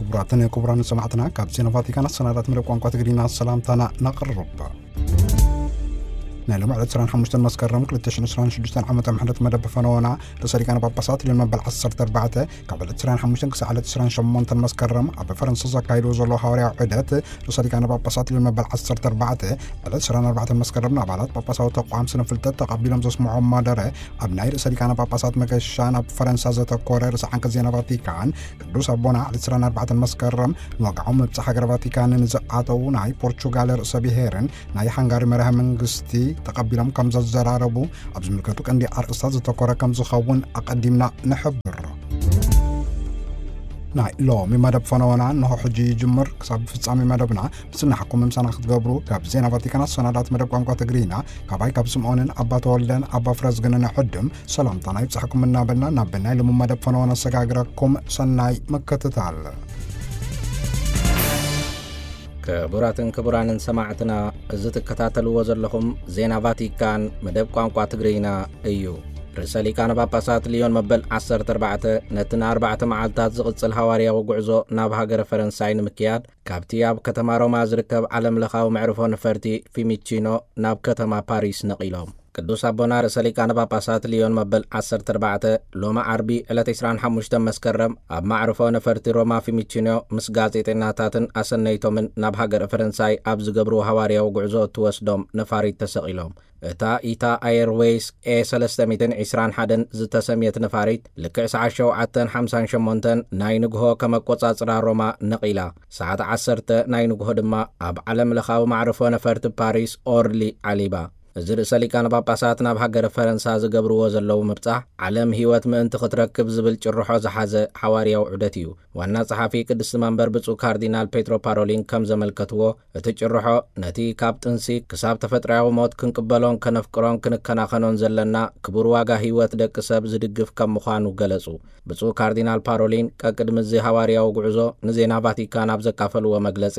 ክቡራትን ክቡራን ሰማዕትና፣ ካብ ዜና ቫቲካን ኣሰናዳት መደብ ቋንቋ ትግርኛ ሰላምታና ነቕርብ። ናይ ሎሚ ዕለት ዕስራን ሓሙሽተን መስከረም ክልተ ሽሕን ዕስራን ሽዱሽተን ዓመተ ምሕረት መደብ ፈነወና ርእሰ ሊቃነ ጳጳሳት ልዮን መበል ዓሰርተ ኣርባዕተ ካብ ዕለት ዕስራን ሓሙሽተን ክሳዕ ዕለት ዕስራን ሸሞንተን መስከረም ኣብ ፈረንሳ ዘካይድዎ ዘሎ ሃዋርያዊ ዑደት፣ ርእሰ ሊቃነ ጳጳሳት ልዮን መበል ዓሰርተ ኣርባዕተ ዕለት ዕስራን ኣርባዕተን መስከረም ንኣባላት ጳጳሳዊ ተቋም ስነ ፍልጠት ተቐቢሎም ዘስምዖም ማደረ፣ ኣብ ናይ ርእሰ ሊቃነ ጳጳሳት መገሻ ናብ ፈረንሳ ዘተኮረ ርእሰ ዓንቀጽ ዜና ቫቲካን፣ ቅዱስ ኣቦና ዕለት ዕስራን ኣርባዕተን መስከረም ንወግዓዊ ምብጻሕ ሃገረ ቫቲካን ንዝኣተዉ ናይ ፖርቹጋል ርእሰ ብሔርን ናይ ሃንጋሪ መራሒ መንግስቲ ተቐቢሎም ከም ዘዘራረቡ ኣብ ዝምልከቱ ቀንዲ ኣርእስታት ዘተኮረ ከም ዝኸውን ኣቐዲምና ንሕብር። ናይ ሎሚ መደብ ፈነወና እንሆ ሕጂ ይጅምር። ክሳብ ፍጻሜ መደብና ምስናሕኩም ምሳና ክትገብሩ ካብ ዜና ቫቲካን ኣሰናዳት መደብ ቋንቋ ትግርኛ ካባይ ካብ ስምዖንን ኣባ ተወልደን ኣባ ፍረዝግንን ዕድም ሰላምታና ይብጻሕኩም እናበልና ናብ ናይ ሎሚ መደብ ፈነወና ኣሰጋግረኩም። ሰናይ ምክትታል። ክቡራትን ክቡራንን ሰማዕትና፣ እዚ ትከታተልዎ ዘለኹም ዜና ቫቲካን መደብ ቋንቋ ትግርኛ እዩ። ርእሰ ሊቃነ ጳጳሳት ልዮን መበል ዓሰርተ ኣርባዕተ ነቲ ንኣርባዕተ መዓልታት ዝቕጽል ሃዋርያዊ ጉዕዞ ናብ ሃገረ ፈረንሳይ ንምክያድ ካብቲ ኣብ ከተማ ሮማ ዝርከብ ዓለም ለኻዊ መዕርፎ ነፈርቲ ፊሚቺኖ ናብ ከተማ ፓሪስ ነቒሎም። ቅዱስ ኣቦና ርእሰ ሊቃነ ጳጳሳት ልዮን መበል ዓሰርተ ኣርባዕተ ሎሚ ዓርቢ ዕለት ዕስራን ሓሙሽተን መስከረም ኣብ ማዕርፎ ነፈርቲ ሮማ ፊሚቺኖ ምስ ጋዜጠኛታትን ኣሰነይቶምን ናብ ሃገረ ፈረንሳይ ኣብ ዝገብርዎ ሃዋርያዊ ጉዕዞ እትወስዶም ነፋሪት ተሰቒሎም። እታ ኢታ ኤርዌይስ ኤ ሰለስተ ሚእትን ዕስራን ሓደን ዝተሰምየት ነፋሪት ልክዕ ሰዓት ሸውዓተን ሓምሳን ሸሞንተን ናይ ንግሆ ከም ኣቆጻጽራ ሮማ ነቒላ፣ ሰዓት ዓሰርተ ናይ ንግሆ ድማ ኣብ ዓለም ለኻዊ ማዕርፎ ነፈርቲ ፓሪስ ኦርሊ ዓሊባ። እዚ ርእሰ ሊቃነ ጳጳሳት ናብ ሃገረ ፈረንሳ ዝገብርዎ ዘለዉ ምብጻሕ፣ ዓለም ህይወት ምእንቲ ክትረክብ ዝብል ጭርሖ ዝሓዘ ሓዋርያዊ ዑደት እዩ። ዋና ጸሓፊ ቅድስቲ መንበር ብፁዕ ካርዲናል ፔትሮ ፓሮሊን ከም ዘመልከትዎ፣ እቲ ጭርሖ ነቲ ካብ ጥንሲ ክሳብ ተፈጥሮኣዊ ሞት ክንቅበሎን ከነፍቅሮን ክንከናኸኖን ዘለና ክቡር ዋጋ ህይወት ደቂ ሰብ ዝድግፍ ከም ምዃኑ ገለጹ። ብፁዕ ካርዲናል ፓሮሊን ቀቅድሚ እዚ ሃዋርያዊ ጉዕዞ ንዜና ቫቲካን ኣብ ዘካፈልዎ መግለጺ፣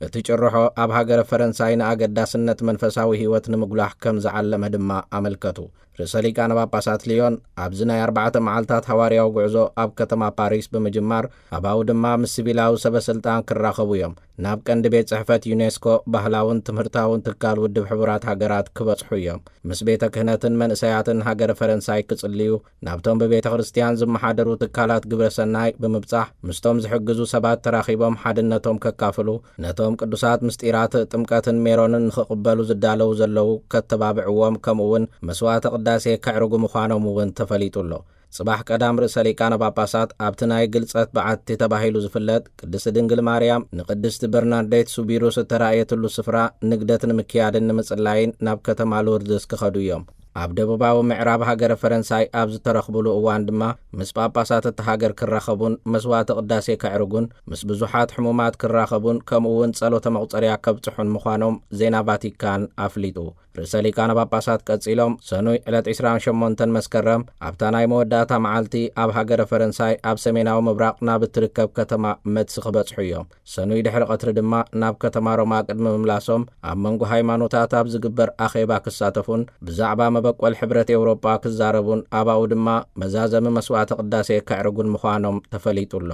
እቲ ጭርሖ ኣብ ሃገረ ፈረንሳይ ንኣገዳስነት መንፈሳዊ ህይወት ንምጉላሕ ከም ዝዓለመ ድማ ኣመልከቱ። ርእሰ ሊቃነ ጳጳሳት ልዮን ኣብዚ ናይ ኣርባዕተ መዓልታት ሃዋርያዊ ጉዕዞ ኣብ ከተማ ፓሪስ ብምጅማር፣ ኣብኡ ድማ ምስ ሲቪላዊ ሰበ ስልጣን ክራኸቡ እዮም። ናብ ቀንዲ ቤት ጽሕፈት ዩኔስኮ፣ ባህላውን ትምህርታውን ትካል ውድብ ሕቡራት ሃገራት ክበጽሑ እዮም። ምስ ቤተ ክህነትን መንእሰያትን ሃገረ ፈረንሳይ ክጽልዩ፣ ናብቶም ብቤተ ክርስቲያን ዝመሓደሩ ትካላት ግብረ ሰናይ ብምብጻሕ፣ ምስቶም ዝሕግዙ ሰባት ተራኺቦም ሓድነቶም ከካፍሉ፣ ነቶም ቅዱሳት ምስጢራት ጥምቀትን ሜሮንን ንኽቕበሉ ዝዳለዉ ዘለዉ ከተባብዕዎም፣ ከምኡ እውን መስዋዕተ ቅዳሴ ከዕርጉ ምዃኖም እውን ተፈሊጡ ኣሎ። ጽባሕ ቀዳም ርእሰ ሊቃነ ጳጳሳት ኣብቲ ናይ ግልጸት በዓቲ ተባሂሉ ዝፍለጥ ቅድስቲ ድንግል ማርያም ንቅድስቲ በርናርዴት ሱቢሩስ እተራእየትሉ ስፍራ ንግደት ንምክያድን ንምጽላይን ናብ ከተማ ሎርድስ ክኸዱ እዮም። ኣብ ደቡባዊ ምዕራብ ሃገረ ፈረንሳይ ኣብ ዝተረኽቡሉ እዋን ድማ ምስ ጳጳሳት እቲ ሃገር ክራኸቡን መስዋዕተ ቅዳሴ ከዕርጉን ምስ ብዙሓት ሕሙማት ክራኸቡን ከምኡ እውን ጸሎተ መቑጸርያ ከብጽሑን ምዃኖም ዜና ቫቲካን ኣፍሊጡ። ርእሰ ሊቃነ ጳጳሳት ቀጺሎም ሰኑይ ዕለት ዕስራን ሸሞንተን መስከረም ኣብታ ናይ መወዳእታ መዓልቲ ኣብ ሃገረ ፈረንሳይ ኣብ ሰሜናዊ ምብራቕ ናብ እትርከብ ከተማ መትስ ክበጽሑ እዮም። ሰኑይ ድሕሪ ቀትሪ ድማ ናብ ከተማ ሮማ ቅድሚ ምምላሶም ኣብ መንጎ ሃይማኖታት ኣብ ዝግበር ኣኼባ ክሳተፉን ብዛዕባ መበቆል ሕብረት ኤውሮጳ ክዛረቡን ኣባኡ ድማ መዛዘሚ መስዋዕተ ቅዳሴ ከዕርጉን ምዃኖም ተፈሊጡ ኣሎ።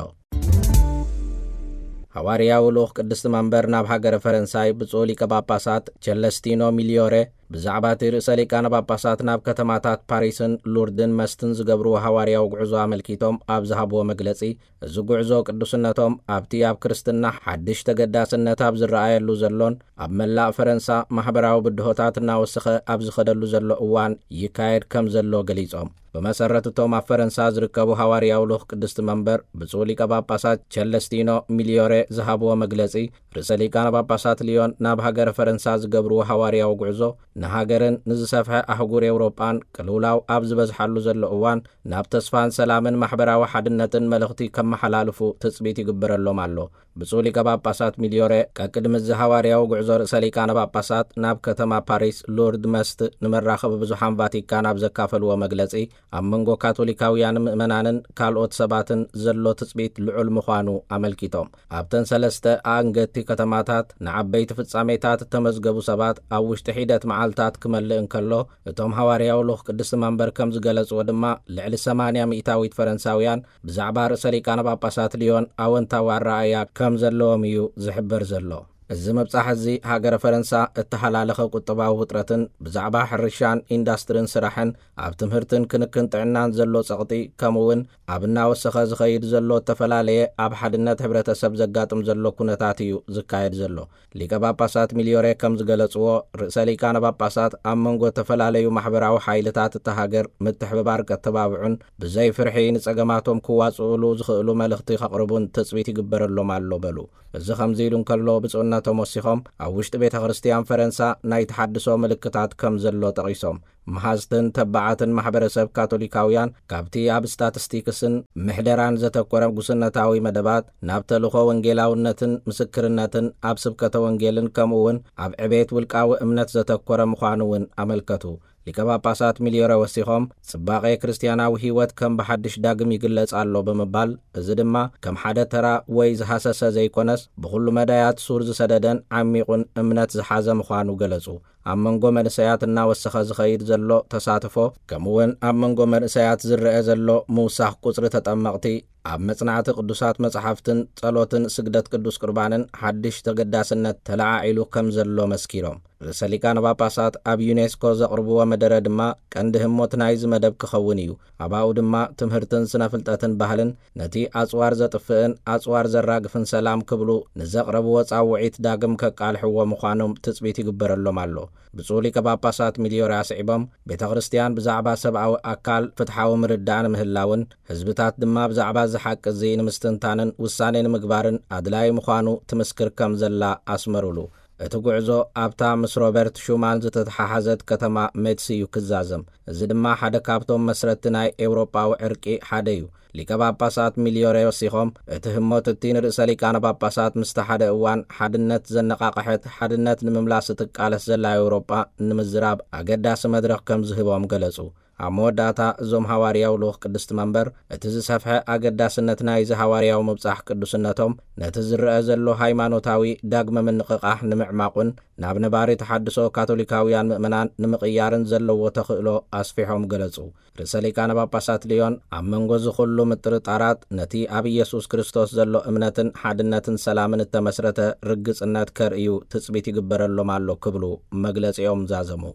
ሃዋርያዊ ልኡኽ ቅድስቲ መንበር ናብ ሃገረ ፈረንሳይ ብፁዕ ሊቀ ጳጳሳት ቸለስቲኖ ሚልዮሬ ብዛዕባ እቲ ርእሰ ሊቃነ ጳጳሳት ናብ ከተማታት ፓሪስን ሉርድን መስትን ዝገብርዎ ሃዋርያዊ ጉዕዞ ኣመልኪቶም ኣብ ዝሃብዎ መግለጺ፣ እዚ ጉዕዞ ቅዱስነቶም ኣብቲ ኣብ ክርስትና ሓድሽ ተገዳስነት ኣብ ዝረኣየሉ ዘሎን ኣብ መላእ ፈረንሳ ማሕበራዊ ብድሆታት እናወሰኸ ኣብ ዝኸደሉ ዘሎ እዋን ይካየድ ከም ዘሎ ገሊጾም። ብመሰረት እቶም ኣብ ፈረንሳ ዝርከቡ ሃዋርያዊ ልኡኽ ቅድስቲ መንበር ብፁዕ ሊቀ ጳጳሳት ቸለስቲኖ ሚልዮሬ ዝሃብዎ መግለጺ፣ ርእሰ ሊቃነ ጳጳሳት ልዮን ናብ ሃገረ ፈረንሳ ዝገብርዎ ሃዋርያዊ ጉዕዞ ንሃገርን ንዝሰፍሐ ኣህጉር ኤውሮጳን ቅልውላው ኣብ ዝበዝሓሉ ዘሎ እዋን ናብ ተስፋን ሰላምን ማሕበራዊ ሓድነትን መልእኽቲ ከመሓላልፉ ትጽቢት ይግበረሎም ኣሎ። ብፁዕ ሊቀ ጳጳሳት ሚልዮሬ ቀቅድሚ እዚ ሃዋርያዊ ጉዕዞ ርእሰ ሊቃነ ጳጳሳት ናብ ከተማ ፓሪስ ሉርድ መስት ንመራኸቢ ብዙሓን ቫቲካን ኣብ ዘካፈልዎ መግለጺ፣ ኣብ መንጎ ካቶሊካውያን ምእመናንን ካልኦት ሰባትን ዘሎ ትጽቢት ልዑል ምዃኑ ኣመልኪቶም፣ ኣብተን ሰለስተ ኣንገቲ ከተማታት ንዓበይቲ ፍጻሜታት እተመዝገቡ ሰባት ኣብ ውሽጢ ሒደት መዓልቲ ክፍልታት ክመልእ እንከሎ፣ እቶም ሃዋርያዊ ልኡኽ ቅድስቲ መንበር ከም ዝገለጽዎ ድማ፣ ልዕሊ ሰማንያ ሚእታዊት ፈረንሳውያን ብዛዕባ ርእሰ ሊቃነ ጳጳሳት ልዮን ኣወንታዊ ኣረኣእያ ከም ዘለዎም እዩ ዝሕበር ዘሎ። እዚ ምብጻሕ እዚ ሃገረ ፈረንሳ እተሃላለኸ ቁጠባዊ ውጥረትን ብዛዕባ ሕርሻን ኢንዳስትርን ስራሕን ኣብ ትምህርትን ክንክን ጥዕናን ዘሎ ጸቕጢ፣ ከምኡ እውን ኣብ እናወሰኸ ዝኸይድ ዘሎ እተፈላለየ ኣብ ሓድነት ሕብረተሰብ ዘጋጥም ዘሎ ኩነታት እዩ ዝካየድ ዘሎ። ሊቀ ጳጳሳት ሚልዮሬ ከም ዝገለጽዎ፣ ርእሰ ሊቃነ ጳጳሳት ኣብ መንጎ እተፈላለዩ ማሕበራዊ ሓይልታት እታ ሃገር ምትሕብባር ከተባብዑን ብዘይ ፍርሒ ንጸገማቶም ክዋጽኡሉ ዝኽእሉ መልእኽቲ ከቕርቡን ትጽቢት ይግበረሎም ኣሎ በሉ። እዚ ከምዚ ኢሉ እንከሎ፣ ብፁዕነቶም ወሲኾም ኣብ ውሽጢ ቤተ ክርስቲያን ፈረንሳ ናይ ተሓድሶ ምልክታት ከም ዘሎ ጠቒሶም፣ መሃዝትን ተባዓትን ማሕበረሰብ ካቶሊካውያን ካብቲ ኣብ ስታትስቲክስን ምሕደራን ዘተኮረ ጉስነታዊ መደባት ናብ ተልእኾ ወንጌላውነትን ምስክርነትን ኣብ ስብከተ ወንጌልን ከምኡ እውን ኣብ ዕቤት ውልቃዊ እምነት ዘተኮረ ምዃኑ እውን ኣመልከቱ። ሊቀ ጳጳሳት ሚልዮረ ወሲኾም፣ ጽባቐ ክርስትያናዊ ህይወት ከም ብሓድሽ ዳግም ይግለጽ ኣሎ ብምባል፣ እዚ ድማ ከም ሓደ ተራ ወይ ዝሃሰሰ ዘይኮነስ፣ ብኹሉ መዳያት ሱር ዝሰደደን ዓሚቑን እምነት ዝሓዘ ምዃኑ ገለጹ። ኣብ መንጎ መንእሰያት እናወሰኸ ዝኸይድ ዘሎ ተሳትፎ፣ ከምኡውን ኣብ መንጎ መንእሰያት ዝረአ ዘሎ ምውሳኽ ቁጽሪ ተጠመቕቲ፣ ኣብ መጽናዕቲ ቅዱሳት መጻሕፍትን ጸሎትን ስግደት ቅዱስ ቁርባንን ሓድሽ ተገዳስነት ተለዓዒሉ ከም ዘሎ መስኪሮም። ርእሰ ሊቃነ ጳጳሳት ኣብ ዩኔስኮ ዘቕርብዎ መደረ ድማ ቀንዲ ህሞት ናይዚ መደብ ክኸውን እዩ። ኣባኡ ድማ ትምህርትን ስነ ፍልጠትን ባህልን ነቲ ኣጽዋር ዘጥፍእን ኣጽዋር ዘራግፍን ሰላም ክብሉ ንዘቕረብዎ ጻውዒት ዳግም ከቃልሕዎ ምዃኖም ትጽቢት ይግበረሎም ኣሎ። ብፁዕ ሊቀ ጳጳሳት ሚልዮሪ ኣስዒቦም፣ ቤተ ክርስቲያን ብዛዕባ ሰብኣዊ ኣካል ፍትሓዊ ምርዳእ ንምህላውን ህዝብታት ድማ ብዛዕባ እዚ ሓቂ እዚ ንምስትንታንን ውሳኔ ንምግባርን ኣድላዪ ምዃኑ ትምስክር ከም ዘላ ኣስመሩሉ። እቲ ጉዕዞ ኣብታ ምስ ሮበርት ሹማን ዝተተሓሓዘት ከተማ ሜትስ እዩ ክዛዘም። እዚ ድማ ሓደ ካብቶም መስረትቲ ናይ ኤውሮጳዊ ዕርቂ ሓደ እዩ። ሊቀ ጳጳሳት ሚልዮሬ ወሲኾም፣ እቲ ህሞት እቲ ንርእሰ ሊቃነ ጳጳሳት ምስቲ ሓደ እዋን ሓድነት ዘነቓቕሐት፣ ሓድነት ንምምላስ እትቃለስ ዘላ ኤውሮጳ ንምዝራብ ኣገዳሲ መድረኽ ከም ዝህቦም ገለጹ። ኣብ መወዳእታ እዞም ሃዋርያዊ ልኡኽ ቅድስቲ መንበር፣ እቲ ዝሰፍሐ ኣገዳስነት ናይዚ ሃዋርያዊ ምብጻሕ ቅዱስነቶም፣ ነቲ ዝረአ ዘሎ ሃይማኖታዊ ዳግመ ምንቕቓሕ ንምዕማቑን ናብ ነባሪ ተሓድሶ ካቶሊካውያን ምእመናን ንምቕያርን ዘለዎ ተኽእሎ ኣስፊሖም ገለጹ። ርእሰ ሊቃነ ጳጳሳት ልዮን ኣብ መንጎ እዚ ኩሉ ምጥርጣራት ነቲ ኣብ ኢየሱስ ክርስቶስ ዘሎ እምነትን ሓድነትን ሰላምን እተመስረተ ርግጽነት ከርእዩ ትጽቢት ይግበረሎም ኣሎ ክብሉ መግለጺኦም ዛዘሙ።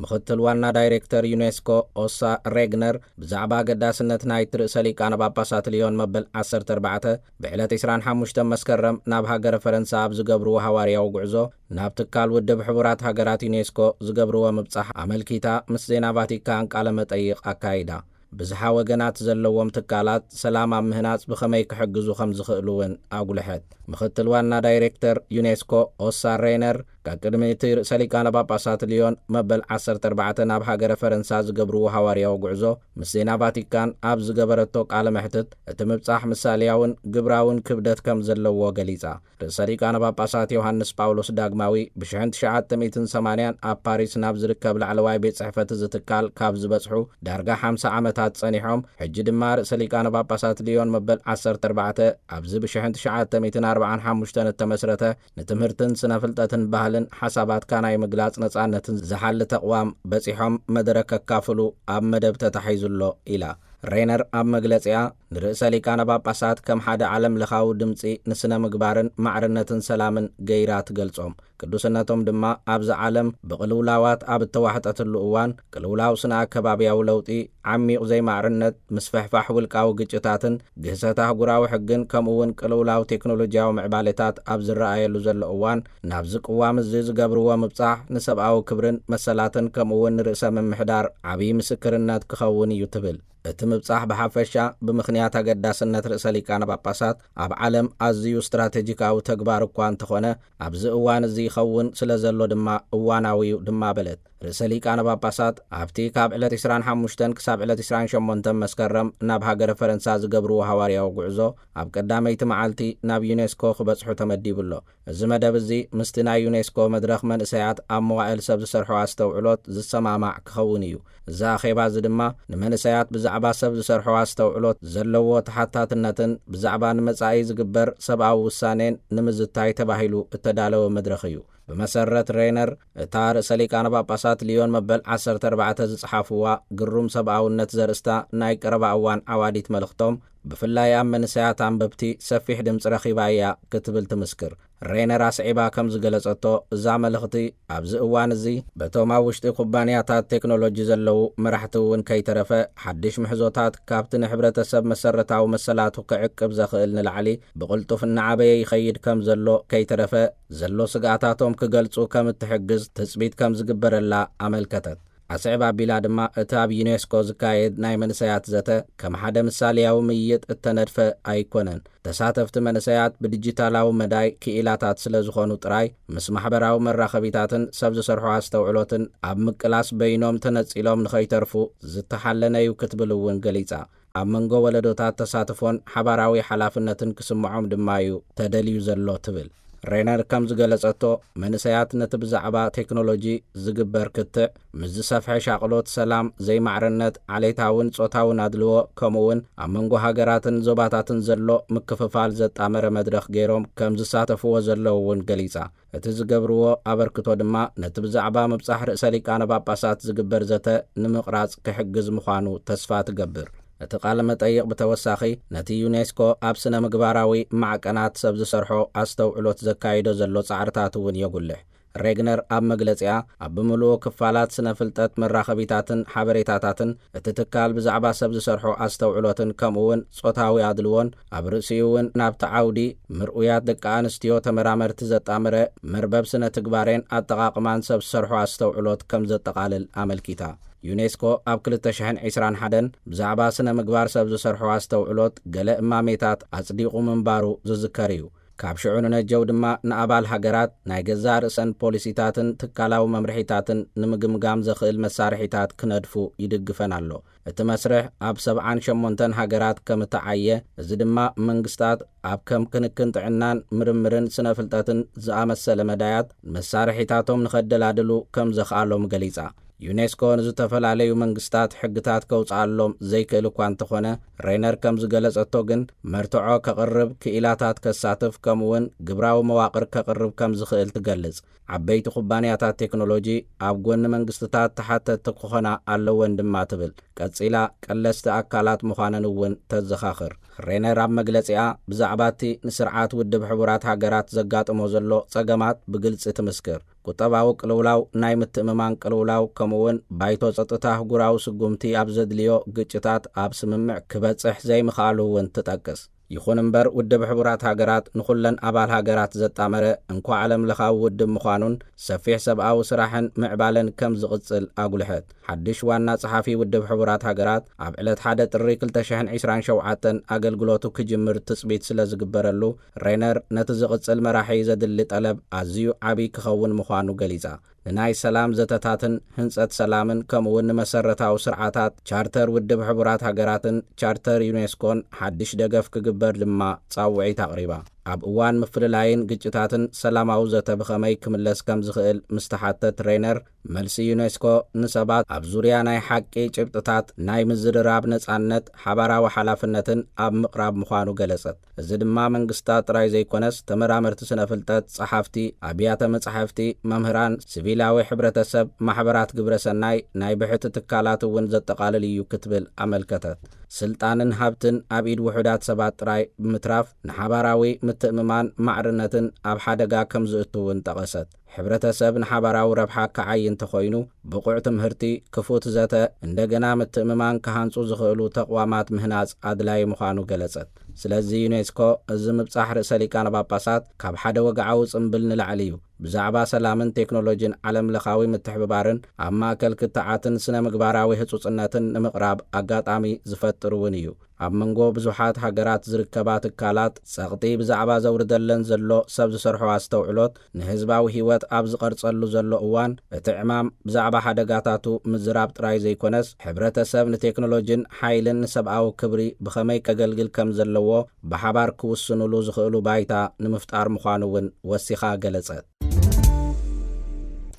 ምኽትል ዋና ዳይሬክተር ዩኔስኮ ኦሳ ሬግነር ብዛዕባ ኣገዳስነት ናይቲ ርእሰ ሊቃነ ጳጳሳት ልዮን መበል ዓሰርተ ኣርባዕተ ብዕለት ዕስራን ሓሙሽተን መስከረም ናብ ሃገረ ፈረንሳ ኣብ ዝገብርዎ ሃዋርያዊ ጉዕዞ፣ ናብ ትካል ውድብ ሕቡራት ሃገራት ዩኔስኮ ዝገብርዎ ምብጻሕ ኣመልኪታ ምስ ዜና ቫቲካን ቃለ መጠይቕ ኣካይዳ። ብዝሓ ወገናት ዘለዎም ትካላት ሰላም ኣብ ምህናጽ ብኸመይ ክሕግዙ ከም ዝኽእሉ እውን ኣጉልሐት። ምኽትል ዋና ዳይሬክተር ዩኔስኮ ኦሳ ሬነር፣ ካብ ቅድሚ እቲ ርእሰ ሊቃነ ጳጳሳት ልዮን መበል ዓሰርተ ኣርባዕተ ናብ ሃገረ ፈረንሳ ዝገብርዎ ሃዋርያዊ ጉዕዞ፣ ምስ ዜና ቫቲካን ኣብ ዝገበረቶ ቃለ መሕትት፣ እቲ ምብጻሕ ምሳሌያውን ግብራውን ክብደት ከም ዘለዎ ገሊጻ። ርእሰ ሊቃነ ጳጳሳት ዮሃንስ ጳውሎስ ዳግማዊ ብሽሕን ትሽዓተ ሚእትን ሰማንያን ኣብ ፓሪስ ናብ ዝርከብ ላዕለዋይ ቤት ጽሕፈት እዚ ትካል ካብ ዝበጽሑ ዳርጋ ሓምሳ ዓመታት ጸኒሖም፣ ሕጂ ድማ ርእሰ ሊቃነ ጳጳሳት ልዮን መበል ዓሰርተ ኣርባዕተ ኣብዚ ብሽሕን ትሽዓተ ሚእትን ኣርባዓን ሓሙሽተን እተመስረተ ንትምህርትን ስነ ፍልጠትን ባህልን ሓሳባትካ ናይ ምግላጽ ነጻነትን ዝሓሊ ተቕዋም በጺሖም መደረ ከካፍሉ ኣብ መደብ ተታሒዙ ኣሎ ኢላ። ሬነር ኣብ መግለጺኣ፣ ንርእሰ ሊቃነ ጳጳሳት ከም ሓደ ዓለም ለኻዊ ድምጺ ንስነ ምግባርን ማዕርነትን ሰላምን ገይራ ትገልጾም። ቅዱስነቶም ድማ ኣብዚ ዓለም ብቅልውላዋት ኣብ እተዋሕጠትሉ እዋን፣ ቅልውላው ስነ ኣከባብያዊ ለውጢ፣ ዓሚቕ ዘይማዕርነት፣ ምስፍሕፋሕ ውልቃዊ ግጭታትን ግህሰት ኣህጉራዊ ሕግን፣ ከምኡ እውን ቅልውላው ቴክኖሎጂያዊ ምዕባሌታት ኣብ ዝረኣየሉ ዘሎ እዋን፣ ናብዚ ቅዋም እዚ ዝገብርዎ ምብጻሕ ንሰብኣዊ ክብርን መሰላትን፣ ከምኡ እውን ንርእሰ ምምሕዳር ዓብዪ ምስክርነት ክኸውን እዩ ትብል። እቲ ምብጻሕ ብሓፈሻ ብምኽንያት ኣገዳስነት ርእሰ ሊቃነ ጳጳሳት ኣብ ዓለም ኣዝዩ ስትራቴጂካዊ ተግባር እኳ እንተኾነ፣ ኣብዚ እዋን እዚ ይኸውን ስለ ዘሎ ድማ እዋናዊ እዩ ድማ በለት። ርእሰ ሊቃነ ጳጳሳት ኣብቲ ካብ ዕለት ዕስራን ሓሙሽተን ክሳብ ዕለት ዕስራን ሸሞንተን መስከረም ናብ ሃገረ ፈረንሳ ዝገብርዎ ሃዋርያዊ ጉዕዞ፣ ኣብ ቀዳመይቲ መዓልቲ ናብ ዩኔስኮ ክበጽሑ ተመዲቡ ኣሎ። እዚ መደብ እዚ ምስቲ ናይ ዩኔስኮ መድረኽ መንእሰያት ኣብ መዋእል ሰብ ዝሰርሖ ኣስተውዕሎት ዝሰማማዕ ክኸውን እዩ። እዚ ኣኼባ እዚ ድማ ንመንእሰያት ብዛዕባ ሰብ ዝሰርሖ ኣስተውዕሎት ዘለዎ ተሓታትነትን ብዛዕባ ንመጻኢ ዝግበር ሰብኣዊ ውሳኔን ንምዝታይ ተባሂሉ እተዳለወ መድረኽ እዩ። ብመሰረት ሬነር፣ እታ ርእሰ ሊቃነ ጳጳሳት ሊዮን መበል ዓሰርተ ኣርባዕተ ዝጸሓፍዋ ግሩም ሰብኣውነት ዘርእስታ ናይ ቀረባ እዋን ዓዋዲት መልእኽቶም፣ ብፍላይ ኣብ መንእሰያት ኣንበብቲ ሰፊሕ ድምፂ ረኺባ እያ ክትብል ትምስክር። ሬነር ኣስዒባ ከም ዝገለጸቶ፣ እዛ መልእኽቲ ኣብዚ እዋን እዚ በቶም ኣብ ውሽጢ ኩባንያታት ቴክኖሎጂ ዘለዉ መራሕቲ እውን ከይተረፈ፣ ሓድሽ ምሕዞታት ካብቲ ንሕብረተሰብ መሰረታዊ መሰላቱ ክዕቅብ ዘኽእል ንላዕሊ ብቕልጡፍ እናዓበየ ይኸይድ ከም ዘሎ ከይተረፈ፣ ዘሎ ስግኣታቶም ክገልጹ ከም እትሕግዝ ትጽቢት ከም ዝግበረላ ኣመልከተት። ኣስዕብ ኣቢላ ድማ፣ እቲ ኣብ ዩኔስኮ ዝካየድ ናይ መንእሰያት ዘተ ከም ሓደ ምሳሌያዊ ምይይጥ እተነድፈ ኣይኮነን። ተሳተፍቲ መንእሰያት ብዲጂታላዊ መዳይ ክኢላታት ስለ ዝኾኑ ጥራይ፣ ምስ ማሕበራዊ መራኸቢታትን ሰብ ዝሰርሖ ኣስተውዕሎትን ኣብ ምቅላስ በይኖም ተነጺሎም ንኸይተርፉ ዝተሓለነ እዩ ክትብል እውን ገሊጻ። ኣብ መንጎ ወለዶታት ተሳትፎን ሓባራዊ ሓላፍነትን ክስምዖም ድማ እዩ ተደልዩ ዘሎ ትብል። ሬነር ከም ዝገለጸቶ፣ መንእሰያት ነቲ ብዛዕባ ቴክኖሎጂ ዝግበር ክትዕ ምስ ዝሰፍሐ ሻቕሎት ሰላም፣ ዘይማዕርነት፣ ዓሌታውን ጾታውን ኣድልዎ፣ ከምኡውን ኣብ መንጎ ሃገራትን ዞባታትን ዘሎ ምክፍፋል ዘጣመረ መድረኽ ገይሮም ከም ዝሳተፍዎ ዘለዉ እውን ገሊጻ። እቲ ዝገብርዎ ኣበርክቶ ድማ ነቲ ብዛዕባ ምብጻሕ ርእሰ ሊቃነ ጳጳሳት ዝግበር ዘተ ንምቕራጽ ክሕግዝ ምዃኑ ተስፋ ትገብር። እቲ ቃለ መጠይቕ ብተወሳኺ ነቲ ዩኔስኮ ኣብ ስነ ምግባራዊ ማዕቀናት ሰብ ዝሰርሖ ኣስተውዕሎት ዘካይዶ ዘሎ ጻዕርታት እውን የጉልሕ። ሬግነር ኣብ መግለጺኣ፣ ኣብ ብምሉኡ ክፋላት ስነ ፍልጠት፣ መራኸቢታትን ሓበሬታታትን እቲ ትካል ብዛዕባ ሰብ ዝሰርሖ ኣስተውዕሎትን ከምኡውን ጾታዊ ኣድልዎን ኣብ ርእሲኡ እውን ናብቲ ዓውዲ ምርኡያት ደቂ ኣንስትዮ ተመራመርቲ ዘጣመረ መርበብ ስነ ትግባሬን ኣጠቓቕማን ሰብ ዝሰርሖ ኣስተውዕሎት ከም ዘጠቓልል ኣመልኪታ። ዩኔስኮ ኣብ ክልተ ሽሕን ዕስራን ሓደን ብዛዕባ ስነ ምግባር ሰብ ዝሰርሖ ኣስተውዕሎት ገለ እማሜታት ኣጽዲቑ ምንባሩ ዝዝከር እዩ። ካብ ሽዑ ንነጀው ድማ ንኣባል ሃገራት ናይ ገዛእ ርእሰን ፖሊሲታትን ትካላዊ መምርሒታትን ንምግምጋም ዘኽእል መሳርሒታት ክነድፉ ይድግፈን ኣሎ። እቲ መስርሕ ኣብ ሰብዓን ሸሞንተን ሃገራት ከም እተዓየ፣ እዚ ድማ መንግስታት ኣብ ከም ክንክን ጥዕናን ምርምርን ስነ ፍልጠትን ዝኣመሰለ መዳያት መሳርሒታቶም ንኸደላድሉ ከም ዘኽኣሎም ገሊጻ። ዩኔስኮ ንዝተፈላለዩ መንግስታት ሕግታት ከውጽኣሎም ዘይክእል እኳ እንተኾነ፣ ሬነር ከም ዝገለጸቶ ግን፣ መርትዖ ከቕርብ፣ ክኢላታት ከሳትፍ፣ ከምኡውን ግብራዊ መዋቕር ከቕርብ ከም ዝኽእል ትገልጽ። ዓበይቲ ኩባንያታት ቴክኖሎጂ ኣብ ጎኒ መንግስትታት ተሓተትቲ ክኾና ኣለወን ድማ ትብል። ቀጺላ፣ ቀለስቲ ኣካላት ምዃነን እውን ተዘኻኽር። ሬነር ኣብ መግለጺኣ፣ ብዛዕባ እቲ ንስርዓት ውድብ ሕቡራት ሃገራት ዘጋጥሞ ዘሎ ጸገማት ብግልጺ ትምስክር። ቁጠባዊ ቅልውላው፣ ናይ ምትእምማን ቅልውላው፣ ከምኡውን ባይቶ ጸጥታ ኣህጉራዊ ስጉምቲ ኣብ ዘድልዮ ግጭታት ኣብ ስምምዕ ክበጽሕ ዘይምኽኣሉ እውን ትጠቅስ። ይኹን እምበር፣ ውድብ ሕቡራት ሃገራት ንኹለን ኣባል ሃገራት ዘጣመረ እንኳ ዓለም ለኻዊ ውድብ ምዃኑን ሰፊሕ ሰብኣዊ ስራሕን ምዕባለን ከም ዝቕጽል ኣጉልሐት። ሓድሽ ዋና ጸሓፊ ውድብ ሕቡራት ሃገራት ኣብ ዕለት ሓደ ጥሪ ክልተ ሽሕን ዕስራን ሸውዓተን ኣገልግሎቱ ክጅምር ትጽቢት ስለ ዝግበረሉ፣ ሬነር ነቲ ዝቕጽል መራሒ ዘድሊ ጠለብ ኣዝዩ ዓቢ ክኸውን ምዃኑ ገሊጻ። ንናይ ሰላም ዘተታትን ህንጸት ሰላምን ከምኡውን ንመሰረታዊ ስርዓታት ቻርተር ውድብ ሕቡራት ሃገራትን ቻርተር ዩኔስኮን ሓድሽ ደገፍ ክግበር ድማ ጻውዒት ኣቕሪባ። ኣብ እዋን ምፍልላይን ግጭታትን ሰላማዊ ዘተ ብኸመይ ክምለስ ከም ዝኽእል ምስ ተሓተት፣ ሬነር፣ መልሲ ዩኔስኮ ንሰባት ኣብ ዙርያ ናይ ሓቂ ጭብጥታት ናይ ምዝርራብ ነጻነት፣ ሓባራዊ ሓላፍነትን ኣብ ምቕራብ ምዃኑ ገለጸት። እዚ ድማ መንግስታት ጥራይ ዘይኮነስ፣ ተመራመርቲ ስነ ፍልጠት፣ ጸሓፍቲ፣ ኣብያተ መጻሕፍቲ፣ መምህራን፣ ሲቪላዊ ሕብረተሰብ፣ ማሕበራት ግብረ ሰናይ፣ ናይ ብሕቲ ትካላት እውን ዘጠቓልል እዩ ክትብል ኣመልከተት። ስልጣንን ሃብትን ኣብ ኢድ ውሑዳት ሰባት ጥራይ ብምትራፍ፣ ንሓባራዊ ምትእምማን ማዕርነትን ኣብ ሓደጋ ከም ዝእቱ እውን ጠቐሰት። ሕብረተሰብ ንሓባራዊ ረብሓ ክዓዪ እንተኾይኑ፣ ብቑዕ ትምህርቲ፣ ክፉት ዘተ፣ እንደገና ምትእምማን ክሃንጹ ዝኽእሉ ተቕዋማት ምህናጽ ኣድላዪ ምዃኑ ገለጸት። ስለዚ ዩኔስኮ፣ እዚ ምብጻሕ ርእሰ ሊቃነ ጳጳሳት ካብ ሓደ ወግዓዊ ጽምብል ንላዕሊ እዩ። ብዛዕባ ሰላምን ቴክኖሎጂን ዓለም ለኻዊ ምትሕብባርን ኣብ ማእከል ክትዓትን ስነ ምግባራዊ ህጹጽነትን ንምቕራብ ኣጋጣሚ ዝፈጥር እውን እዩ። ኣብ መንጎ ብዙሓት ሃገራት ዝርከባ ትካላት ጸቕጢ ብዛዕባ ዘውርደለን ዘሎ ሰብ ዝሰርሖ ኣስተውዕሎት ንህዝባዊ ህይወት ኣብ ዝቐርጸሉ ዘሎ እዋን፣ እቲ ዕማም ብዛዕባ ሓደጋታቱ ምዝራብ ጥራይ ዘይኮነስ፣ ሕብረተሰብ ንቴክኖሎጂን ሓይልን ንሰብኣዊ ክብሪ ብኸመይ ከገልግል ከም ዘለዎ ብሓባር ክውስኑሉ ዝኽእሉ ባይታ ንምፍጣር ምዃኑ እውን ወሲኻ ገለጸት።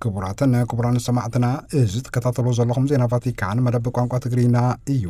ክቡራትን ክቡራን ሰማዕትና፣ እዚ ትከታተሉ ዘለኹም ዜና ቫቲካን መደብ ቋንቋ ትግርኛ እዩ።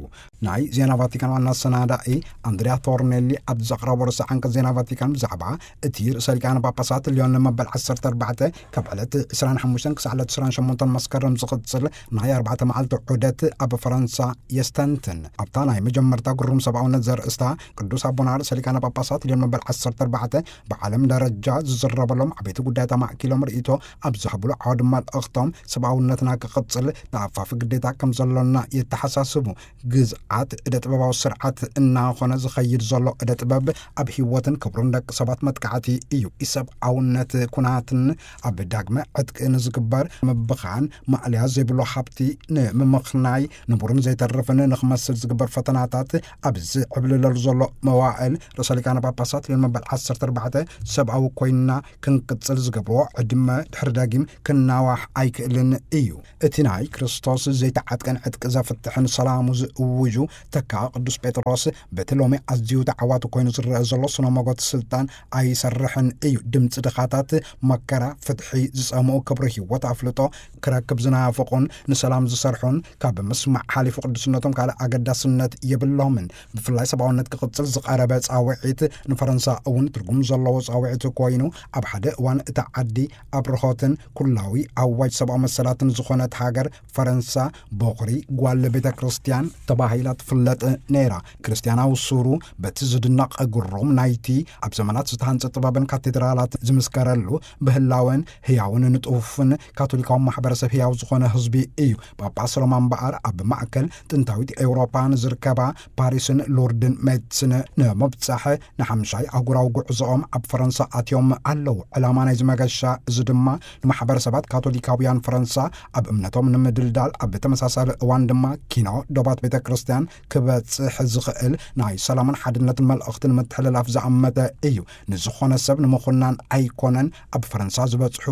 ናይ ዜና ቫቲካን ዋና ኣሰናዳኢ ኣንድሪያ ቶርኔሊ ኣብ ዘቕረቦ ርእሰ ዓንቀጽ ዜና ቫቲካን ብዛዕባ እቲ ርእሰ ሊቃነ ጳጳሳት ልዮን መበል ዓሰርተ ኣርባዕተ ካብ ዕለት ዕስራን ሓሙሽተን ክሳዕ ዕለት ዕስራን ሸሞንተን መስከረም ዝቕጽል ናይ ኣርባዕተ መዓልቲ ዑደት ኣብ ፈረንሳ የስተንትን። ኣብታ ናይ መጀመርታ ግሩም ሰብኣውነት ዘርእስታ ቅዱስ ኣቦና ርእሰ ሊቃነ ጳጳሳት ልዮን መበል ዓሰርተ ኣርባዕተ ብዓለም ደረጃ ዝዝረበሎም ዓበይቲ ጉዳያት ኣማእኪሎም ርእይቶ ኣብ ዝህብሉ ዓውዲ መልእኽቶም፣ ሰብኣውነትና ክቕጽል ተኣፋፊ ግዴታ ከም ዘሎና የተሓሳስቡ። ግዝኣት እደ ጥበባዊ ስርዓት እናኾነ ዝኸይድ ዘሎ እደ ጥበብ ኣብ ህይወትን ክብሩን ደቂ ሰባት መጥቃዕቲ እዩ። ኢሰብኣውነት ኩናትን ኣብ ዳግመ ዕጥቂ ንዝግበር ምብኻን ማእለያ ዘይብሉ ሃብቲ ንምምኽናይ ንቡርን ዘይተርፍን ንኽመስል ዝግበር ፈተናታት ኣብ ዝዕብልለሉ ዘሎ መዋእል ርእሰ ሊቃነ ጳጳሳት ልዮን መበል ዓሰርተ ኣርባዕተ ሰብኣዊ ኮይንና ክንቅጽል ዝገብርዎ ዕድመ ድሕሪ ዳጊም ክናዋሕ ኣይክእልን እዩ። እቲ ናይ ክርስቶስ ዘይተዓጥቀን ዕጥቂ ዘፍትሕን ሰላሙ ዝእውጁ ተካ ቅዱስ ጴጥሮስ በቲ ሎሚ ኣዝዩ ተዓዋቲ ኮይኑ ዝረአ ዘሎ ስነ መጎት ስልጣን ኣይሰርሕን እዩ። ድምፂ ድኻታት፣ መከራ፣ ፍትሒ ዝጸምኡ፣ ክብሪ ህይወት ኣፍልጦ ክረክብ ዝናፍቑን ንሰላም ዝሰርሑን ካብ ምስማዕ ሓሊፉ ቅዱስነቶም ካልእ ኣገዳስነት የብሎምን። ብፍላይ ሰብኣውነት ክቕጽል ዝቐረበ ጻውዒት ንፈረንሳ እውን ትርጉም ዘለዎ ጻውዒት ኮይኑ፣ ኣብ ሓደ እዋን እታ ዓዲ ኣብርሆትን ኩላዊ ኣዋጅ ሰብኣዊ መሰላትን ዝኾነት ሃገር ፈረንሳ፣ ቦኽሪ ጓል ቤተ ክርስቲያን ተባሂላ ትፍለጥ ነይራ። ክርስቲያናዊ ሱሩ በቲ ዝድነቕ ግሩም ናይቲ ኣብ ዘመናት ዝተሃንጸ ጥበብን ካቴድራላት ዝምስከረሉ፣ ብህላወን ህያውን ንጡፍን ካቶሊካዊ ማሕበረሰብ ህያው ዝኾነ ህዝቢ እዩ። ጳጳስ ሮማ እምበኣር ኣብ ማእከል ጥንታዊት ኤውሮጳ ንዝርከባ ፓሪስን ሉርድን ሜትስን ንምብጻሕ ንሓምሻይ ኣህጉራዊ ጉዕዞኦም ኣብ ፈረንሳ ኣትዮም ኣለዉ። ዕላማ ናይዚ መገሻ እዚ ድማ ንማሕበረሰባት ካቶሊካውያን ፈረንሳ ኣብ እምነቶም ንምድልዳል፣ ኣብ ተመሳሳሊ እዋን ድማ ኪኖ ዶባት ቤተ ክርስቲያን ክበጽሕ ዝኽእል ናይ ሰላምን ሓድነትን መልእኽቲ ንምትሕልላፍ ዝኣመተ እዩ። ንዝኾነ ሰብ ንምኹናን ኣይኮነን ኣብ ፈረንሳ ዝበጽሑ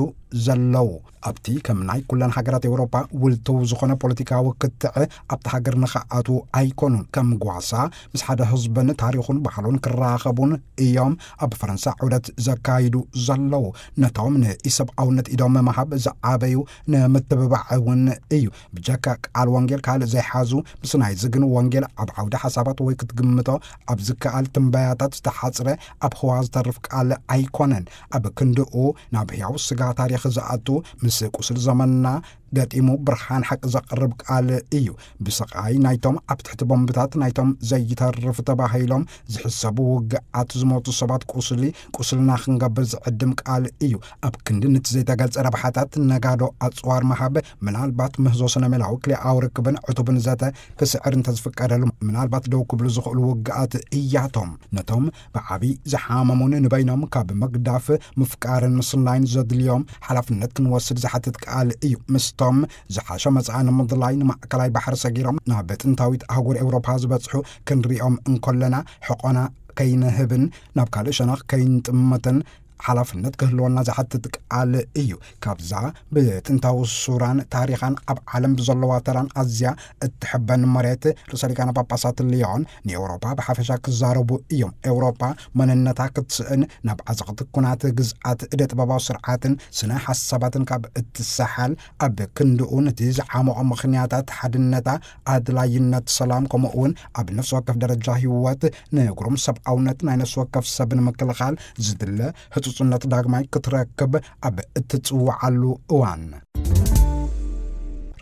ዘለዉ። ኣብቲ ከም ናይ ኩለን ሃገራት ኤውሮጳ ውልትው ዝኾነ ፖለቲካዊ ክትዕ ኣብቲ ሃገር ንኽኣትዉ ኣይኮኑን። ከም ጓሳ ምስ ሓደ ህዝብን ታሪኹን ባህሉን ክራኸቡን እዮም ኣብ ፈረንሳ ዑደት ዘካይዱ ዘለዉ። ነቶም ንኢሰብኣውነት ኢዶም ምሃብ ዝዓበዩ ንምትብባዕ እውን እዩ። ብጀካ ቃል ወንጌል ካልእ ዘይሓዙ፣ ምስ ናይዚ ግን ወንጌል ኣብ ዓውዲ ሓሳባት ወይ ክትግምቶ ኣብ ዝከኣል ትንበያታት ዝተሓጽረ፣ ኣብ ህዋ ዝተርፍ ቃል ኣይኮነን። ኣብ ክንድኡ ናብ ህያው ስጋ ታሪኽ ዝኣቱ፣ ምስ ቁስል ዘመንና ገጢሙ ብርሃን ሓቂ ዘቕርብ ቃል እዩ። ብስቓይ ናይቶም ኣብ ትሕቲ ቦምብታት ናይቶም ዘይተርፍ ተባሂሎም ዝሕሰቡ ውግኣት ዝሞቱ ሰባት ቁስሊ ቁስልና ክንገብር ዝዕድም ቃል እዩ። ኣብ ክንዲ ነቲ ዘይተገልጸ ረብሓታት ነጋዶ ኣጽዋር ምሃብ፣ ምናልባት ምህዞ ስነ ሜላዊ ክልኣዊ ርክብን ዕቱብን ዘተ ክስዕር እንተዝፍቀደሉ፣ ምናልባት ደው ክብሉ ዝኽእሉ ውግኣት እያቶም። ነቶም ብዓቢ ዝሓመሙን ንበይኖም ካብ ምግዳፍ ምፍቃርን ምስናይን ዘድልዮም ሓላፍነት ክንወስድ ዝሓትት ቃል እዩ። ምስቶም ዝሓሸ መጻኢ ንምድላይ ንማእከላይ ባሕሪ ሰጊሮም ናብ ጥንታዊት ኣህጉር ኤውሮፓ ዝበጽሑ ክንሪኦም እንከለና፣ ሕቖና ከይንህብን ናብ ካልእ ሸነኽ ከይንጥምትን ሓላፍነት ክህልወና ዝሓትት ቃል እዩ። ካብዛ ብጥንታዊ ሱራን ታሪኻን ኣብ ዓለም ብዘለዋ ተራን ኣዝያ እትሕበን መሬት፣ ርእሰ ሊቃነ ጳጳሳት ልዮን ንኤውሮጳ ብሓፈሻ ክዛረቡ እዮም። ኤውሮጳ መንነታ ክትስእን፣ ናብ ዓዘቕቲ ኩናት ግዝኣት እደ ጥበባዊ ስርዓትን ስነ ሓሳባትን ካብ እትሰሓል፣ ኣብ ክንድኡ ነቲ ዝዓመቖ ምኽንያታት ሓድነታ፣ ኣድላይነት ሰላም፣ ከምኡ እውን ኣብ ነፍሲ ወከፍ ደረጃ ህይወት ንግሩም ሰብኣውነት ናይ ነፍሲ ወከፍ ሰብ ንምክልኻል ዝድለ ህጹጽነት ዳግማይ ክትረክብ ኣብ እትጽውዓሉ እዋን፣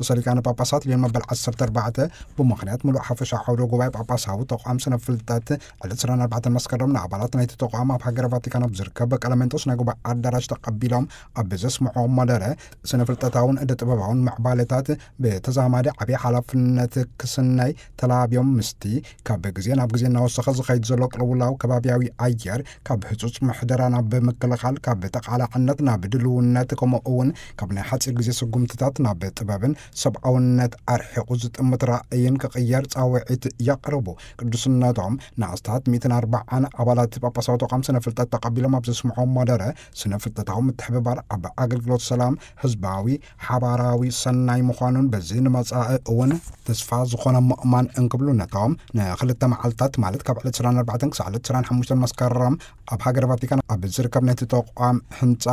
ርእሰ ሊቃነ ጳጳሳት ልዮን መበል ዓሰርተ ኣርባዕተ ብምኽንያት ምሉእ ሓፈሻ ዓውደ ጉባኤ ጳጳሳዊ ተቋም ስነ ፍልጠት ዕለት ዕስራን ኣርባዕተን መስከረም ንኣባላት ናይቲ ተቋም ኣብ ሃገረ ቫቲካን ኣብ ዝርከብ ቀለሜንጦስ ናይ ጉባኤ ኣዳራሽ ተቐቢሎም ኣብ ዘስምዖ መደረ፣ ስነ ፍልጠታውን እደ ጥበባውን ምዕባለታት ብተዛማዲ ዓብዪ ሓላፍነት ክስነይ ተላብዮም፣ ምስቲ ካብ ግዜ ናብ ግዜ እናወሰኸ ዝኸይድ ዘሎ ቅልውላው ከባቢያዊ ኣየር፣ ካብ ህጹጽ ምሕደራ ናብ ምክልኻል፣ ካብ ተቓላዕነት ናብ ድልውነት፣ ከምኡ እውን ካብ ናይ ሓጺር ግዜ ስጉምትታት ናብ ጥበብን ሰብኣውነት ኣርሒቑ ዝጥምት ራእይን ክቕየር ጻውዒት የቕርቡ። ቅዱስነቶም ንኣስታት ሚእትን ኣርባዓን ኣባላት ጳጳሳዊ ተቋም ስነ ፍልጠት ተቐቢሎም ኣብ ዘስምዖ መደረ፣ ስነ ፍልጠታዊ ምትሕብባር ኣብ ኣገልግሎት ሰላም፣ ህዝባዊ ሓባራዊ ሰናይ ምዃኑን፣ በዚ ንመጻኢ እውን ተስፋ ዝኾነ ምእማን እንክብሉ፣ ነቶም ንኽልተ መዓልታት፣ ማለት ካብ ዕለት ዕስራን ኣርባዕተን ክሳዕ ዕለት ዕስራን ሓሙሽተን መስከረም ኣብ ሃገረ ቫቲካን ኣብ ዝርከብ ናይቲ ተቋም ህንጻ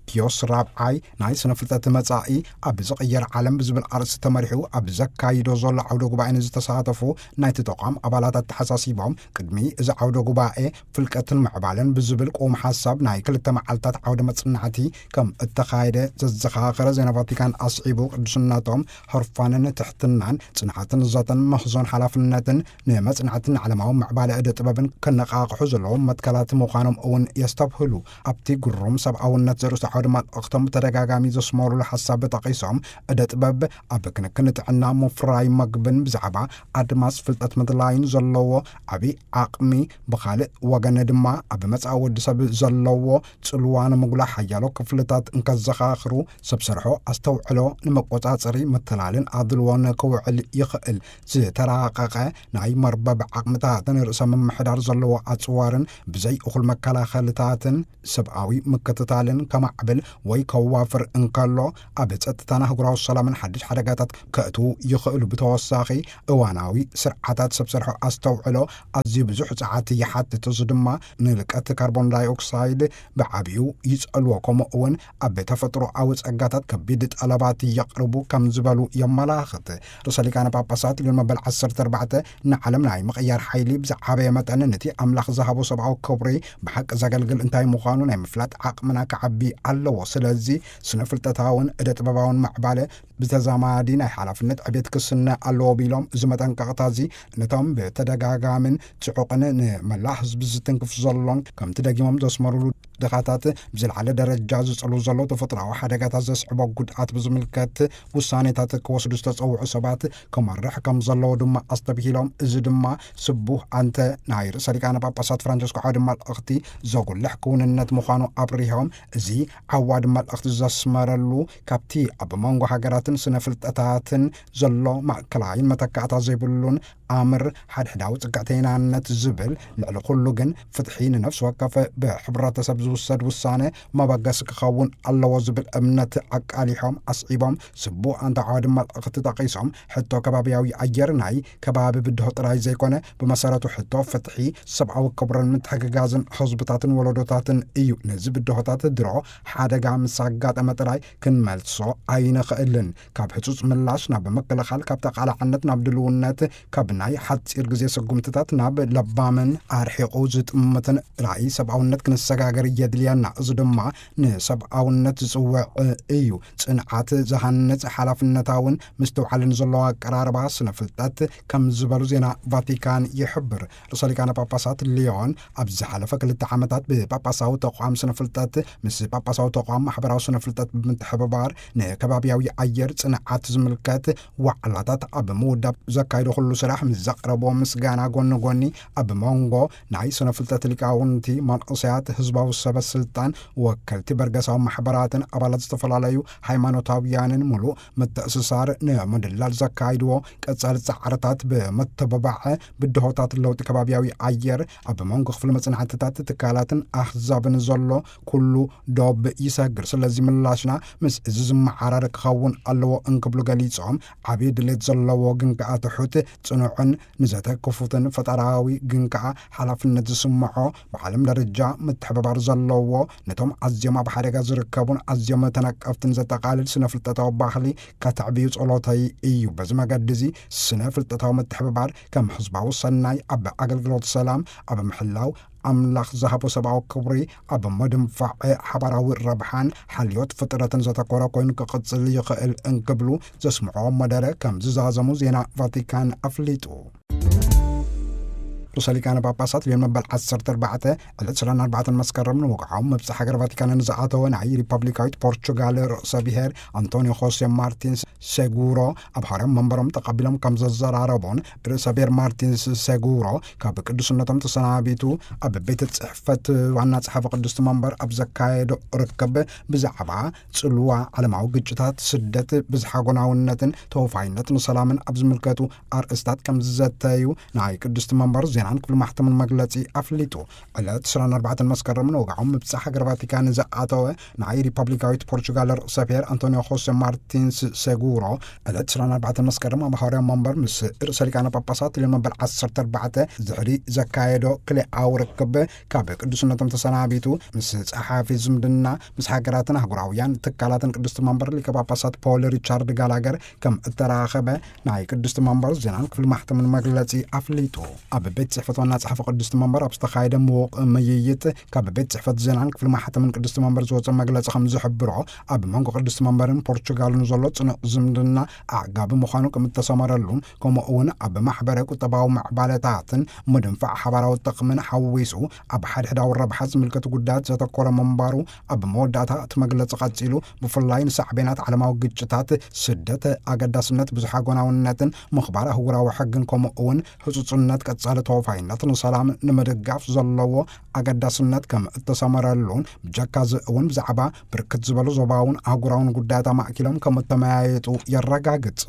ፒዮስ ራብዓይ ናይ ስነ ፍልጠት መጻኢ ኣብ ዝቕየር ዓለም ብዝብል ኣርእስቲ ተመሪሑ ኣብ ዘካይዶ ዘሎ ዓውደ ጉባኤ ንዝተሳተፉ ናይቲ ተቋም ኣባላት ኣተሓሳሲቦም፣ ቅድሚ እዚ ዓውደ ጉባኤ ፍልቀትን ምዕባለን ብዝብል ቅውም ሓሳብ ናይ ክልተ መዓልታት ዓውደ መጽናዕቲ ከም እተኻየደ ዘዘኻኸረ ዜና ቫቲካን ኣስዒቡ፣ ቅዱስነቶም ህርፋንን ትሕትናን፣ ጽንዓትን ዘተን፣ ምህዞን ሓላፍነትን፣ ንመጽናዕትን ዓለማዊ ምዕባለ እደ ጥበብን ከነቓቕሑ ዘለዎም መትከላት ምዃኖም እውን የስተብህሉ። ኣብቲ ግሩም ሰብኣውነት ዘርእስቱ ዓውደ መልእኽቶም ብተደጋጋሚ ዘስመሩሉ ሓሳብ ጠቒሶም፣ እደ ጥበብ ኣብ ክንክን ጥዕና፣ ምፍራይ መግብን ብዛዕባ ኣድማስ ፍልጠት ምድላይን ዘለዎ ዓብዪ ዓቕሚ፣ ብኻልእ ወገን ድማ ኣብ መጻኢ ወዲ ሰብ ዘለዎ ጽልዋ ንምጉላሕ ሓያሎ ክፍልታት እንከዘኻኽሩ፣ ሰብ ሰርሖ ኣስተውዕሎ ንመቆጻጸሪ፣ ምትላልን ኣድልዎን ክውዕል ይኽእል። ዝተራቐቐ ናይ መርበብ ዓቕምታትን ርእሰ ምምሕዳር ዘለዎ ኣጽዋርን ብዘይ እኹል መከላኸልታትን ሰብኣዊ ምክትታልን ከማዕብል ወይ ከዋፍር እንከሎ፣ ኣብ ጸጥታን ኣህጉራዊ ሰላምን ሓድሽ ሓደጋታት ከእትዉ ይኽእሉ። ብተወሳኺ፣ እዋናዊ ስርዓታት ሰብ ሰርሖ ኣስተውዕሎ ኣዝዩ ብዙሕ ጸዓት ይሓትት። እዚ ድማ ንልቀት ካርቦን ዳይኦክሳይድ ብዓቢኡ ይጸልዎ፣ ከምኡ እውን ኣብ ተፈጥሮኣዊ ጸጋታት ከቢድ ጠለባት የቕርቡ ከም ዝበሉ የመላኽት። ርእሰ ሊቃነ ጳጳሳት ሊዮን መበል ዓሰርተ ኣርባዕተ ንዓለም ናይ ምቕያር ሓይሊ ብዝዓበየ መጠን ነቲ ኣምላኽ ዝሃቦ ሰብኣዊ ክብሪ ብሓቂ ዘገልግል እንታይ ምዃኑ ናይ ምፍላጥ ዓቕምና ክዓቢ ኣለዎ። ስለዚ ስነ ፍልጠታውን እደ ጥበባውን ማዕባለ ብተዛማዲ ናይ ሓላፍነት ዕቤት ክስነ ኣለዎ ቢሎም፣ እዚ መጠንቀቕታ እዚ ነቶም ብተደጋጋምን ጽዑቕን ንመላእ ህዝቢ ዝትንክፍ ዘሎን ከምቲ ደጊሞም ዘስመሩሉ ድኻታት ብዝለዓለ ደረጃ ዝጸሉ ዘለዉ ተፈጥሮኣዊ ሓደጋታት ዘስዕቦ ጉድኣት ብዝምልከት ውሳኔታት ክወስዱ ዝተጸውዑ ሰባት ክመርሕ ከም ዘለዎ ድማ ኣስተብሂሎም፣ እዚ ድማ ስቡህ ኣንተ ናይ ርእሰ ሊቃነ ጳጳሳት ፍራንቸስኮ ዓውደ መልእኽቲ ዘጉልሕ ክውንነት ምዃኑ ኣብሪሆም፣ እዚ ዓዋዲ መልእኽቲ ዘስመረሉ ካብቲ ኣብ መንጎ ሃገራትን ስነ ፍልጠታትን ዘሎ ማእከላይን መተካእታ ዘይብሉን ኣምር ሓድሕዳዊ ጽግዕተይናነት ዝብል፣ ልዕሊ ኩሉ ግን ፍትሒ ንነፍሲ ወከፍ ብሕብረተሰብ ዝውሰድ ውሳነ መበገሲ ክኸውን ኣለዎ ዝብል እምነት ኣቃሊሖም ኣስዒቦም፣ ስቡእ ኣንታ ዓዋዲ መልእኽቲ ጠቒሶም፣ ሕቶ ከባብያዊ ኣየር ናይ ከባቢ ብድሆ ጥራይ ዘይኮነ፣ ብመሰረቱ ሕቶ ፍትሒ፣ ሰብኣዊ ክብርን ምትሕግጋዝን ህዝብታትን ወለዶታትን እዩ። ነዚ ብድሆታት ድሮ ሓደጋ ምስ ኣጋጠመ ጥራይ ክንመልሶ ኣይንኽእልን። ካብ ህጹጽ ምላሽ ናብ ምክልኻል፣ ካብ ተቓላዕነት ናብ ድልውነት፣ ካብ ናይ ሓጺር ግዜ ስጉምትታት ናብ ለባምን ኣርሒቑ ዝጥምትን ራእይ ሰብኣውነት ክንሰጋገር የድልየና። እዚ ድማ ንሰብኣውነት ዝጽውዕ እዩ። ጽንዓት ዝሃንጽ፣ ሓላፍነታውን ምስትውዓልን ዘለዎ ኣቀራርባ ስነ ፍልጠት ከም ዝበሉ ዜና ቫቲካን ይሕብር። ርእሰ ሊቃነ ጳጳሳት ሊዮን ኣብ ዝሓለፈ ክልተ ዓመታት ብጳጳሳዊ ተቋም ስነ ፍልጠት ምስ ጳጳሳዊ ተቋም ማሕበራዊ ስነ ፍልጠት ብምትሕብባር ንከባብያዊ ኣየር ጽንዓት ዝምልከት ዋዕላታት ኣብ ምውዳብ ዘካይዶ ኩሉ ስራሕ ምስ ዘቕረብዎ ምስጋና ጎኒ ጎኒ፣ ኣብ መንጎ ናይ ስነ ፍልጠት ሊቃውንቲ፣ መንእሰያት፣ ህዝባዊ ሰበ ስልጣን፣ ወከልቲ በርገሳዊ ማሕበራትን ኣባላት ዝተፈላለዩ ሃይማኖታውያንን ምሉእ ምትእስሳር ንምድላል ዘካይድዎ ቀጻሊ ጻዕርታት ብምትብባዕ፣ ብድሆታት ለውጢ ከባብያዊ ኣየር ኣብ መንጎ ክፍሊ መጽናዕትታት ትካላትን ኣህዛብን ዘሎ ኩሉ ዶብ ይሰግር። ስለዚ ምላሽና ምስ እዚ ዝመዓራረ ክኸውን ኣለዎ እንክብሉ ገሊጾም፣ ዓብዪ ድሌት ዘለዎ ግን ከኣ ትሑት፣ ጽኑዕን ንዘተ ክፉትን ፈጠራዊ ግን ከኣ ሓላፍነት ዝስምዖ፣ ብዓለም ደረጃ ምትሕብባር ዘለዎ፣ ነቶም ኣዝዮም ኣብ ሓደጋ ዝርከቡን ኣዝዮም ተነቀፍትን ዘጠቓልል ስነ ፍልጠታዊ ባህሊ ከተዕብዩ ጸሎተይ እዩ። በዚ መገዲ እዚ ስነ ፍልጠታዊ ምትሕብባር ከም ህዝባዊ ሰናይ፣ ኣብ ኣገልግሎት ሰላም፣ ኣብ ምሕላው ኣምላኽ ዝሃቦ ሰብኣዊ ክብሪ፣ ኣብ ምድንፋዕ ሓባራዊ ረብሓን ሓልዮት ፍጥረትን ዘተኮረ ኮይኑ ክቕጽል ይኽእል እንክብሉ ዘስምዕዎ መደረ ከም ዝዛዘሙ ዜና ቫቲካን ኣፍሊጡ። ርእሰ ሊቃነ ጳጳሳት ሊዮን መበል ዓሰርተ ኣርባዕተ ዕለት ዕስራን ኣርባዕተን መስከረም ንወግዓዊ መብጽዓ ሃገር ቫቲካን ንዝኣተወ ናይ ሪፐብሊካዊት ፖርቹጋል ርእሰ ብሔር ኣንቶኒዮ ሆሴ ማርቲንስ ሴጉሮ ኣብ ሃርያም መንበሮም ተቐቢሎም ከም ዘዘራረቡን፣ ርእሰ ብሔር ማርቲንስ ሴጉሮ ካብ ቅዱስነቶም ተሰናቢቱ ኣብ ቤት ጽሕፈት ዋና ጸሓፊ ቅድስቲ መንበር ኣብ ዘካየዶ ርክብ ብዛዕባ ጽልዋ ዓለማዊ ግጭታት፣ ስደት፣ ብዝሓ ጎናውነትን ተወፋይነት ንሰላምን ኣብ ዝምልከቱ ኣርእስታት ከም ዝዘተዩ ናይ ቅድስቲ መንበር ዜናን ክፍሊ ማሕተምን መግለጺ ኣፍሊጡ። ዕለት ዕስራን ኣርባዕተን መስከረም ንወግዓዊ ምብጻሕ ሃገር ቫቲካን ዝኣተወ ናይ ሪፐብሊካዊት ፖርቹጋል ርእሰ ብሔር ኣንቶኒዮ ሆሴ ማርቲንስ ሴጉሮ፣ ዕለት ዕስራን ኣርባዕተን መስከረም ኣብ ሃዋርያዊ መንበር ምስ ርእሰ ሊቃነ ጳጳሳት ልዮን መበል ዓሰርተ ኣርባዕተ ድሕሪ ዘካየዶ ክልኤኣዊ ርክብ፣ ካብ ቅዱስነቶም ተሰናቢቱ፣ ምስ ጸሓፊ ዝምድና ምስ ሃገራትን ኣህጉራውያን ትካላትን ቅዱስቲ መንበር ሊቀ ጳጳሳት ፖል ሪቻርድ ጋላገር ከም እተራኸበ ናይ ቅዱስቲ መንበር ዜናን ክፍሊ ማሕተምን መግለጺ ኣፍሊጡ። ኣብ ቤት ጽሕፈት ዋና ጸሓፊ ቅዱስቲ መንበር ኣብ ዝተኻየደ ምዉቕ ምይይጥ፣ ካብ ቤት ጽሕፈት ዜናን ክፍሊ ማሕተምን ቅዱስቲ መንበር ዝወጸ መግለጺ ከም ዝሕብሮ፣ ኣብ መንጎ ቅዱስቲ መንበርን ፖርቹጋልን ዘሎ ጽኑዕ ዝምድና ኣዕጋቢ ምዃኑ ከም እተሰመረሉን፣ ከምኡ እውን ኣብ ማሕበረ ቁጠባዊ ምዕባለታትን ምድንፋዕ ሓባራዊ ጥቕምን ሓዊሱ ኣብ ሓድሕዳዊ ረብሓ ዝምልከቱ ጉዳያት ዘተኮረ ምንባሩ ኣብ መወዳእታ እቲ መግለጺ ቀጺሉ፣ ብፍላይ ንሳዕቤናት ዓለማዊ ግጭታት፣ ስደት፣ ኣገዳስነት ብዙሓ ጎናውነትን ምኽባር ኣህጉራዊ ሕግን፣ ከምኡ እውን ህጹጽነት ቀጻሊ ተወፋይነት ንሰላም ንምድጋፍ ዘለዎ ኣገዳስነት ከም እተሰመረሉን፣ ብጀካ እዚ እውን ብዛዕባ ብርክት ዝበሉ ዞባውን ኣህጉራውን ጉዳያት ኣማእኪሎም ከም እተመያየጡ የረጋግጽ።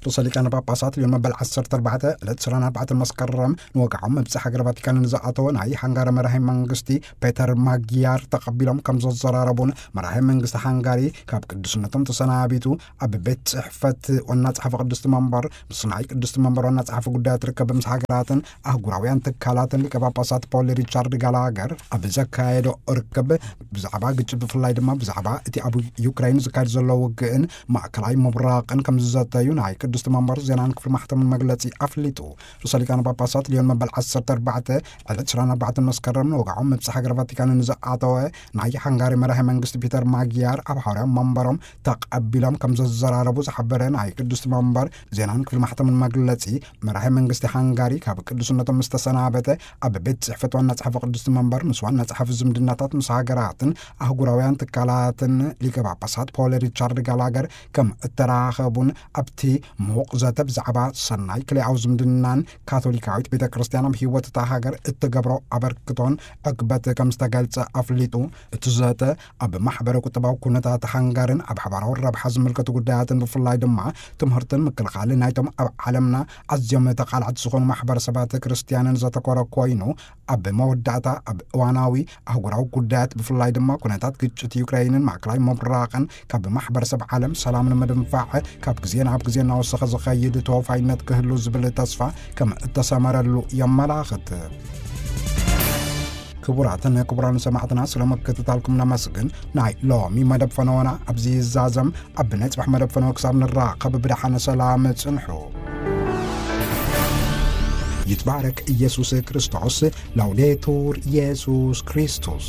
ርእሰ ሊቃነ ጳጳሳት ልዮን መበል ዓሰርተ ኣርባዕተ ዕለት ዕስራን ኣርባዕተን መስከረም ንወግዓዊ ምብጻሕ ሃገር ቫቲካን ንዝኣተወ ናይ ሃንጋሪ መራሒ መንግስቲ ፔተር ማጊያር ተቐቢሎም ከም ዘዘራረቡን፣ መራሒ መንግስቲ ሃንጋሪ ካብ ቅዱስነቶም ተሰናቢቱ ኣብ ቤት ጽሕፈት ዋና ጸሓፊ ቅዱስቲ መንበር ምስ ናይ ቅዱስቲ መንበር ዋና ጸሓፊ ጉዳያት ርክብ ምስ ሃገራትን ኣህጉራውያን ትካላትን ሊቀ ጳጳሳት ፖል ሪቻርድ ጋላገር ኣብ ዘካየዶ ርክብ፣ ብዛዕባ ግጭት ብፍላይ ድማ ብዛዕባ እቲ ኣብ ዩክራይን ዝካየድ ዘሎ ውግእን ማእከላይ ምብራቕን ከም ዝዘተዩ ናይ ቅዱስቲ መንበር ዜናን ክፍሊ ማሕተምን መግለጺ ኣፍሊጡ። ርእሰ ሊቃነ ጳጳሳት ልዮን መበል ዓሰርተ ኣርባዕተ ዕለት ዕስራን ኣርባዕተን መስከረም ንወግዓዊ ምብጻሕ ሃገር ቫቲካን ንዝኣተወ ናይ ሃንጋሪ መራሒ መንግስቲ ፒተር ማጊያር ኣብ ሃዋርያዊ መንበሮም ተቐቢሎም ከም ዘዘራረቡ ዝሓበረ ናይ ቅዱስቲ መንበር ዜናን ክፍሊ ማሕተምን መግለጺ፣ መራሒ መንግስቲ ሃንጋሪ ካብ ቅዱስነቶም ምስ ተሰናበተ፣ ኣብ ቤት ጽሕፈት ዋና ጸሓፊ ቅዱስቲ መንበር ምስ ዋና ጸሓፊ ዝምድናታት ምስ ሃገራትን ኣህጉራውያን ትካላትን ሊቀ ጳጳሳት ፖል ሪቻርድ ጋላገር ከም እተራኸቡን፣ ኣብቲ ምዉቕ ዘተ ብዛዕባ ሰናይ ክልኣዊ ዝምድናን ካቶሊካዊት ቤተ ክርስቲያን ኣብ ህይወት እታ ሃገር እትገብሮ ኣበርክቶን ዕግበት ከም ዝተገልጸ ኣፍሊጡ። እቲ ዘተ ኣብ ማሕበረ ቁጠባዊ ኩነታት ሃንጋርን ኣብ ሓባራዊ ረብሓ ዝምልከቱ ጉዳያትን፣ ብፍላይ ድማ ትምህርትን ምክልኻልን ናይቶም ኣብ ዓለምና ኣዝዮም ተቓላዕቲ ዝኾኑ ማሕበረሰባት ክርስትያንን ዘተኮረ ኮይኑ፣ ኣብ መወዳእታ ኣብ እዋናዊ ኣህጉራዊ ጉዳያት፣ ብፍላይ ድማ ኩነታት ግጭት ዩክራይንን ማእከላይ ምብራቕን፣ ካብ ማሕበረሰብ ዓለም ሰላም ንምድንፋዕ ካብ ግዜ ናብ ግዜ እናወሰኸ ዝኸይድ ተወፋይነት ክህሉ ዝብል ተስፋ ከም እተሰመረሉ የመላኽት። ክቡራትን ክቡራን ሰማዕትና፣ ስለ ምክትታልኩም ነመስግን። ናይ ሎሚ መደብ ፈነወና ኣብዚ ይዛዘም። ኣብ ናይ ጽባሕ መደብ ፈነወ ክሳብ ንራኸብ፣ ብደሓነ ሰላም ጽንሑ። ይትባረክ ኢየሱስ ክርስቶስ። ላውዴቱር ኢየሱስ ክርስቶስ።